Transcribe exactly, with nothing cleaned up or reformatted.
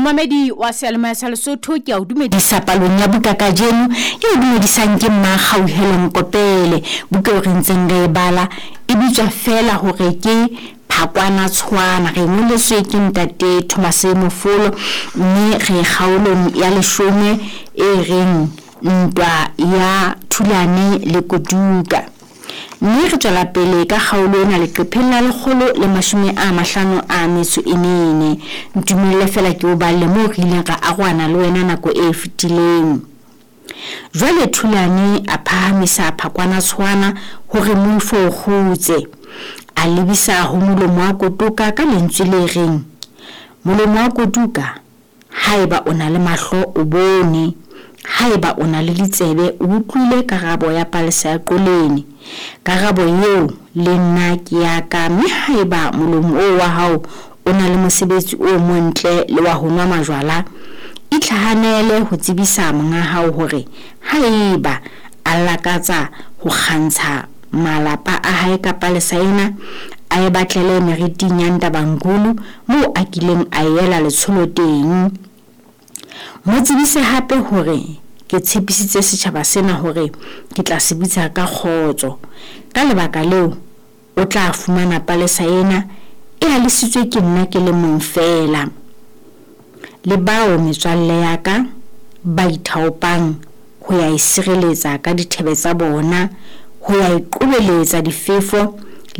Momamedi wa seyalemoya sa Lesotho, ke a o dumedisa palong ya buka kajeno. E o dumedisang ke Mmakgauhelo Mokopele. Buka eo re ntseng re e bala e bitswa feela hore ke Phakwana Tshwana. Re ngoletswe ke ntate Thomas Mofolo, mme re kgaolong ya leshome e reng ntwa ya Thulane le Koduka. Mme re tswela pele ka kgaolo ena leqepheng la lekgolo le mashome a mahlano a metso e mene. Ntumelle feela ke o balle moo re ileng ra arohana le wena nako e fetileng. Jwale Thulane a phahamisa Phakwana Tshwana hore moifo o kgutse. A lebisa ho molomo wa Kotoka ka lentswe le reng, molomo wa Kotoka, haeba o na le mahlo o bone, haeba o na le ditsebe o utlwile karabo ya palesa ya qolene. Karabo eo le nna ke ya ka, mme haeba molomo oo wa hao o na le mosebetsi o montle le wa ho nwa majwala, itlhahanele ho tsebisa monga hao hore haeba a lakatsa ho kgantsha malapa a hae ka palesa ena, a e batlele meriting ya Ntabangulu moo a kileng a ela letsholo teng. Mo tsebise hape hore ke tshepisitse setjhaba sena hore ke tla se bitsa ka kgotso. Ka lebaka leo, o tla fumana palesa ena e alisitswe ke nna ke le mong feela. Le bao metswalle ya ka ba ithaopang ho ya e sireletsa ka dithebe tsa bona, ho ya e qobeletsa difefo